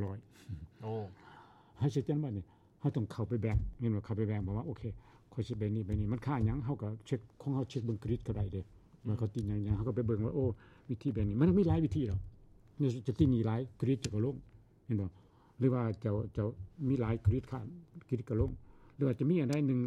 ຮ້ອຍ. ໂອ້ ໃຫ້ຊັດເຈນວ່ານີ້ ເຮົາຕ້ອງເຂົ້າໄປແບ່ງ ແມ່ນບໍ່? ເຂົ້າໄປແບ່ງ ບອກວ່າ ໂອເຄ ຂ້ອຍຊິແບ່ງນີ້ ແບ່ງນີ້ ມັນຄ່າຫຍັງ? ເຮົາກໍເຊັກ ຂອງເຮົາເຊັກເບິ່ງເຄຣດິດກໍໄດ້ເດ້ ເມື່ອເຂົາຕິດຫຍັງໆ ເຮົາກໍໄປເບິ່ງວ່າ ໂອ້ ວິທີແບ່ງນີ້ ມັນມີຫຼາຍວິທີດອກ. ເຈົ້າຕິດໜີ້ຫຼາຍ ເຄຣດິດເຈົ້າກໍລົງ ແມ່ນບໍ່? ຫຼືວ່າເຈົ້າ ເຈົ້າມີຫຼາຍ ເຄຣດິດຂາດ ເຄຣດິດກໍລົງ. ຫຼືວ່າຈະມີອັນໃດໜຶ່ງ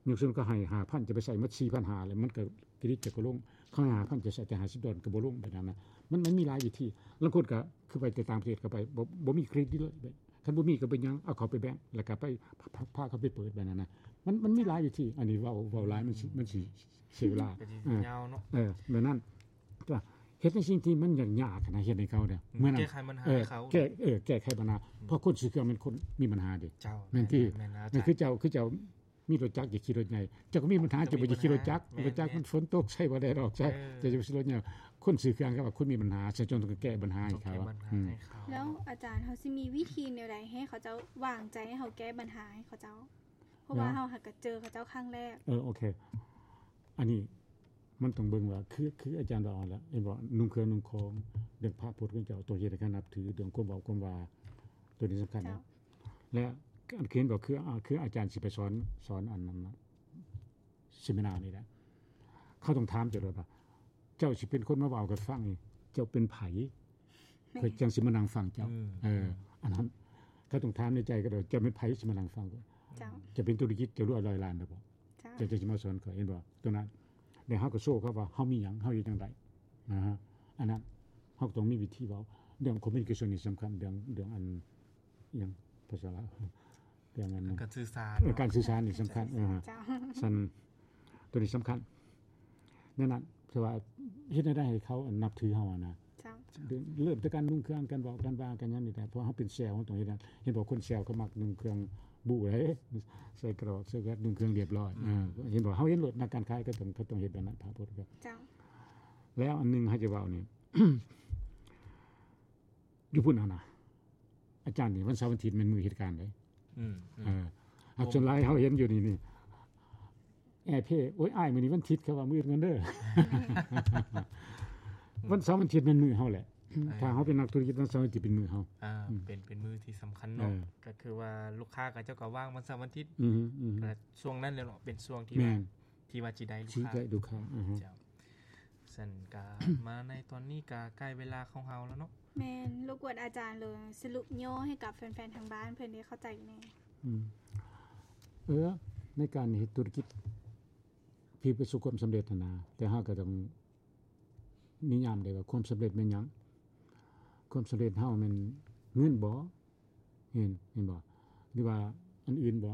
ຍົກເຊັ່ນ ເຂົາໃຫ້ຫ້າພັນ ຈະໄປໃຊ້ໝົດສີ່ພັນຫ້າ ແລ້ວມັນກໍ ເຄຣດິດເຈົ້າກໍລົງ. ເຂົາໃຫ້ຫ້າພັນ ຈະໃຊ້ແຕ່ຫ້າສິບດອນ ກໍບໍ່ລົງ ແບບນັ້ນນະ. ມັນ ມັນມີຫຼາຍວິທີ. ລາງຄົນກໍຄືໄປແຕ່ຕ່າງປະເທດ ກໍໄປ ບໍ່ ບໍ່ມີເຄຣດິດເລີຍ. ຄັນບໍ່ມີກໍເປັນຫຍັງ ເອົາເຂົ້າໄປແບ່ງ ແລ້ວກໍໄປ ພາ ພາ ພາເຂົາໄປເປີດ ແບບນັ້ນນະ. ມັນ ມັນມີຫຼາຍວິທີ. ອັນນີ້ເວົ້າ ເວົ້າຫຼາຍ ມັນຊິ ມັນຊິເສຍເວລາ. ກໍຊິຍາວເນາະ. ເອີ ແບບນັ້ນ ກໍເຮັດໃນສິ່ງທີ່ມັນຍາກໆນະ ເຮັດໃຫ້ເຂົາເດ້ ເມື່ອນັ້ນ ແກ້ໄຂບັນຫາ ເອີ ໃຫ້ເຂົາ ແກ້ ເອີ ແກ້ໄຂບັນຫາ. ອືມ ເພາະຄົນຊື້ເຄື່ອງແມ່ນຄົນມີບັນຫາເດ້. ເຈົ້າ ແມ່ນຕິ? ແມ່ນ ແມ່ນ ອາຈານ. ຄືເຈົ້າ ຄືເຈົ້າມີລົດຈັກ ຢາກຂີ່ລົດໃຫຍ່ ເຈົ້າກໍມີບັນຫາ ເຈົ້າບໍ່ຢາກຂີ່ລົດຈັກ. ແມ່ນ ລົດຈັກມັນຝົນຕົກ ໃຊ້ບໍ່ໄດ້ດອກ ໃຊ້ ເຈົ້າຈະໄປຊື້ລົດໃຫຍ່. ຄົນຊື້ເຄື່ອງ ເຂົາວ່າຄົນມີບັນຫາ ສະເຈົ້າຕ້ອງແກ້ບັນຫາໃຫ້ເຂົາ. ອືມ ແລ້ວອາຈານ ເຮົາຊິມີວິທີແນວໃດໃຫ້ເຂົາເຈົ້າວາງໃຈໃຫ້ເຮົາແກ້ບັນຫາໃຫ້ເຂົາເຈົ້າ? ເພາະວ່າເຮົາຫາກໍເຈີເຂົາເຈົ້າຄັ້ງແລກ. ເອີ ໂອເຄ ອັນນີ້ມັນຕ້ອງເບິ່ງວ່າ ຄື ຄືອາຈານວ່າຫັ້ນແຫຼະ ເຫັນບໍ່? ນຸ່ງເຄື່ອງນຸ່ງຂອງ ເລື່ອງພະພົດຂອງເຈົ້າ ຕ້ອງເຮັດໃຫ້ເຂົານັບຖື ເລື່ອງຄວາມເວົ້າຄວາມວ່າ ໂຕນີ້ສຳຄັນນະ. ແລະ ອັນຄືເຫັນບໍ່ ຄື ອາ ຄືອາຈານຊິໄປສອນ ສອນອັນນັ້ນນະ ເສມະນານີ້ແຫຼະ ເຂົາຕ້ອງຖາມເຈົ້າໂລດວ່າ ເຈົ້າຊິເປັນຄົນມາເວົ້າກັບຟັງນີ້ ເຈົ້າເປັນໃຜ? ຂ້ອຍຈັ່ງຊິມານັ່ງຟັງເຈົ້າ. ເອີ ອັນນັ້ນ ເຂົາຕ້ອງຖາມໃນໃຈກໍໄດ້ ເຈົ້າເປັນໃຜຊິມານັ່ງຟັງຂ້ອຍ? ເຈົ້າ ເຈົ້າເປັນທຸລະກິດ ເຈົ້າລວຍຮ້ອຍລ້ານແລ້ວບໍ່? ເຈົ້າ ເຈົ້າ ເຈົ້າຊິມາສອນຂ້ອຍ ເຫັນບໍ່? ຕົງນັ້ນ ແລ້ວເຮົາກໍໂຊເຂົາວ່າເຮົາມີຫຍັງ ເຮົາເຮັດຈັ່ງໃດ ອາ ອັນນັ້ນ ເຮົາກໍຕ້ອງມີວິທີເວົ້າ. ເລື່ອງຄອມມູນິເຄຊັນນີ້ສຳຄັນ ເລື່ອງ ເລື່ອງອັນ ຫຍັງ ພາສາລາວ ເລື່ອງອັນ ການສື່ສານ ເອີ ການສື່ສານນີ້ສຳຄັນ. ເອີ ເຈົ້າ ຊັ້ນ ໂຕນີ້ສຳຄັນ ແນວນັ້ນ ແຕ່ວ່າເຮັດແນວໃດໃຫ້ເຂົາ ອັນ ນັບຖືເຮົາຫັ້ນນະ. ເຈົ້າ ເລີ່ມແຕ່ການນຸ່ງເຄື່ອງ ການເວົ້າ ການວ່າ ການຫຍັງນີ້ແຫຼະ. ເພາະເຮົາເປັນເຊວ ເຮົາຕ້ອງເຮັດນັ້ນ. ເຫັນບໍ່ ຄົນເຊວເຂົາມັກນຸ່ງເຄື່ອງບູ້ເດ້ ໃສ່ກະດອກ ໃສ່ແວ່ນ ນຸ່ງເຄື່ອງລຽບຮ້ອຍ. ເອີ ເຫັນບໍ່ ເຮົາເຫັນໂລດ ນັກການຂາຍກໍຕ້ອງ ກໍຕ້ອງເຮັດແບບນັ້ນ ພະໂພດ. ເຈົ້າ ແລ້ວອັນໜຶ່ງເຮົາຈະເວົ້ານີ້ ຢູ່ພຸ້ນຫັ້ນນະ ອາຈານນີ້ ວັນເສົາວັນທິດແມ່ນມື້ເຮັດການເດ້. ອືມ ອືມ ເອີ ສ່ວນຫຼາຍເຮົາເຫັນຢູ່ນີ້ ນີ້ ແອເພ ໂອ້ຍ ອ້າຍ ມື້ນີ້ວັນທິດ ເຂົາວ່າມື້ອື່ນກ່ອນເດີ. ວັນເສົາວັນທິດແມ່ນມື້ເຮົາແຫຼະ. ເອີ ຖ້າເຮົາເປັນນັກທຸລະກິດ ວັນເສົາວັນທິດເປັນມື້ເຮົາ. ອ່າ ອືມ ເປັນ ເປັນມື້ທີ່ສຳຄັນເນາະ. ເອີ ກໍຄືວ່າລູກຄ້າເຂົາເຈົ້າກໍວ່າງວັນເສົາວັນທິດ. ອືມ ອືມ ກໍຊ່ວງນັ້ນແຫຼະເນາະ ເປັນຊ່ວງທີ່ ແມ່ນ ວ່າ ທີ່ວ່າຊິໄດ້ລູກຄ້າ ຊິໄດ້ລູກຄ້າ. ອືຮຶ ເຈົ້າ. ຊັ້ນກະ ມາໃນຕອນນີ້ກະໃກ້ເວລາຂອງເຮົາແລ້ວເນາະ. ແມ່ນ ລົບກວນອາຈານເລີຍ ສະຫຼຸບຫຍໍ້ໃຫ້ກັບແຟນໆທາງບ້ານເພິ່ນໄດ້ເຂົ້າໃຈແດ່. ອືມ ເອີ ໃນການເຮັດທຸລະກິດທີ່ປະສົບຄວາມສຳເລັດຫັ້ນນະ ແຕ່ເຮົາກໍຕ້ອງນິຍາມໄດ້ວ່າຄວາມສຳເລັດແມ່ນຫຍັງ? ຄວາມສຳເລັດເຮົາແມ່ນເງິນບໍ? ເຫັນ ເຫັນບໍ່? ຫຼືວ່າອັນອື່ນບໍ່?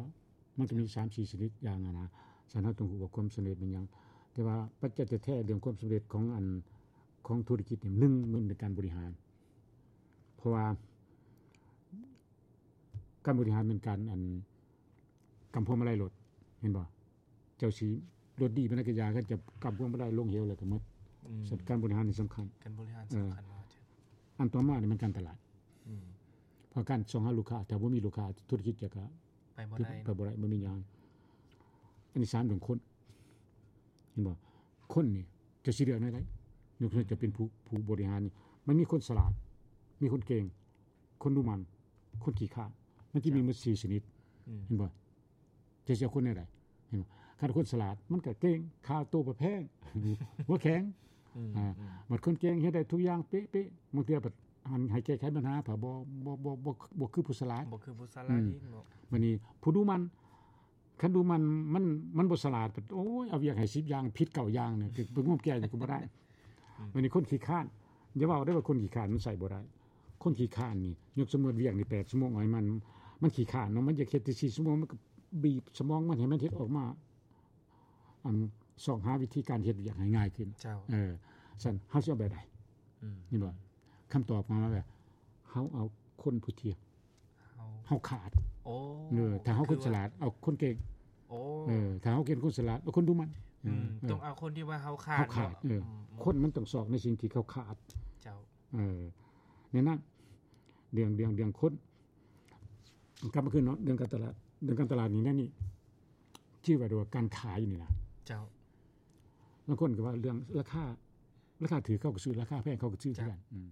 ມັນກໍມີສາມສີ່ຊະນິດຢ່າງຫັ້ນນະ. ຊັ້ນເຮົາຕ້ອງຮູ້ວ່າຄວາມສຳເລັດແມ່ນຫຍັງ? ແຕ່ວ່າປັດໄຈແທ້ໆ ເລື່ອງຄວາມສຳເລັດຂອງອັນ ຂອງທຸລະກິດນີ້ ໜຶ່ງ ມັນເປັນການບໍລິຫານ. ເພາະວ່າການບໍລິຫານແມ່ນການ ອັນ ກຳພວງມາໄລລົດ ເຫັນບໍ່? ເຈົ້າຊິລົດດີປານໃດກໍຢ່າ ຄັນເຈົ້າກຳພວງມາໄລລົງເຫວແລ້ວກໍໝົດ. ອືມ ການບໍລິຫານນີ້ສຳຄັນ ການບໍລິຫານ ເອີ ສຳຄັນເນາະ. ອັນຕໍ່ມານີ້ແມ່ນການຕະຫຼາດ. ອືມ ເພາະການຊອກຫາລູກຄ້າ ຖ້າບໍ່ມີລູກຄ້າ ທຸລະກິດຈະກະໄປບໍ່ໄດ້ ໄປບໍ່ໄດ້ ບໍ່ມີຫຍັງ. ອັນທີສາມ ເລື່ອງຄົນ ເຫັນບໍ່? ຄົນນີ້ເຈົ້າຊິເລືອກແນວໃດ? ຍົກຕົວຢ່າງ ເຈົ້າເປັນຜູ້ ຜູ້ບໍລິຫານນີ້ ມັນມີຄົນສະຫຼາດ ມີຄົນເກັ່ງ ຄົນດຸໝັ່ນ ຄົນຂີ້ຄ້ານ ມັນຈະມີໝົດສີ່ຊະນິດ. ອືມ ເຫັນບໍ່? ເຈົ້າຊິເອົາຄົນແນວໃດ? ເຫັນບໍ່? ຄັນຄົນສະຫຼາດ ມັນກໍເກັ່ງ ຄ່າໂຕບໍ່ແພງ ຫົວແຂງ. ອືມ ອ່າ ອືມ ບັດຄົນເກັ່ງເຮັດໄດ້ທຸກຢ່າງເປະໆ ບາງເທື່ອບັດ ອັນ ໃຫ້ແກ້ໄຂບັນຫາ ເພິ່ນບໍ່ ບໍ່ ບໍ່ ບໍ່ ບໍ່ຄືຜູ້ສະຫຼາດ ບໍ່ຄືຜູ້ສະຫຼາດ. ອືມ ອີກເນາະ. ບັດນີ້ຜູ້ດຸໝັ່ນ ຄັນດຸໝັ່ນ ມັນ ມັນບໍ່ສະຫຼາດ ໂອ້ຍ ເອົາວຽກໃຫ້ສິບຢ່າງ ຜິດເກົ້າຢ່າງນີ້ ຄືໄປງມແກ້ຫຍັງກໍບໍ່ໄດ້. ອືມ ບັດນີ້ຄົນຂີ້ຄ້ານ ຢ່າເວົ້າໄດ້ວ່າຄົນຂີ້ຄ້ານມັນໃຊ້ບໍ່ໄດ້. ຄົນຂີ້ຄ້ານນີ້ ຍົກສົມມຸດວຽກນີ້ແປດຊົ່ວໂມງ ເອົາໃຫ້ມັນ ມັນຂີ້ຄ້ານເນາະ ມັນຢາກເຮັດແຕ່ສີ່ຊົ່ວໂມງ ມັນກໍບີບສະໝອງມັນໃຫ້ມັນເຮັດອອກມາ ອັນ ຊອກຫາວິທີການເຮັດວຽກໃຫ້ງ່າຍຂຶ້ນ. ເຈົ້າ ເອີ ຊັ້ນເຮົາຊິເອົາແບບໃດ? ອືມ ເຫັນບໍ່? ຄຳຕອບຂອງເຮົາແບບ ເຮົາເອົາຄົນຜູ້ທີ່ ເຮົາ ເຮົາຂາດ. ໂອ້ ເອີ ຖ້າເຮົາຄົນສະຫຼາດ ເອົາຄົນເກັ່ງ. ໂອ້ ເອີ ຖ້າເຮົາເກັ່ງ ຄົນສະຫຼາດ ເອົາຄົນດຸໝັ່ນ. ອືມ ເອີ ຕ້ອງເອົາຄົນທີ່ວ່າເຮົາຂາດ ເຮົາຂາດເນາະ. ເອີ ອືມ ຄົນມັນຕ້ອງຊອກໃນສິ່ງທີ່ເຂົາຂາດ. ເຈົ້າ ເອີ ແນວນັ້ນ ເລື່ອງ ເລື່ອງ ເລື່ອງຄົນ ກັບມາຄືນເນາະ ເລື່ອງການຕະຫຼາດ ເລື່ອງການຕະຫຼາດນີ້ ແນວນີ້ ຊື່ວ່າ ການຂາຍນີ້ນະ. ເຈົ້າ ລາງຄົນກໍວ່າເລື່ອງລາຄາ ລາຄາຖືກເຂົາກໍຊື້ ລາຄາແພງເຂົາກໍຊື້ຄືກັນ. ເຈົ້າ ອືມ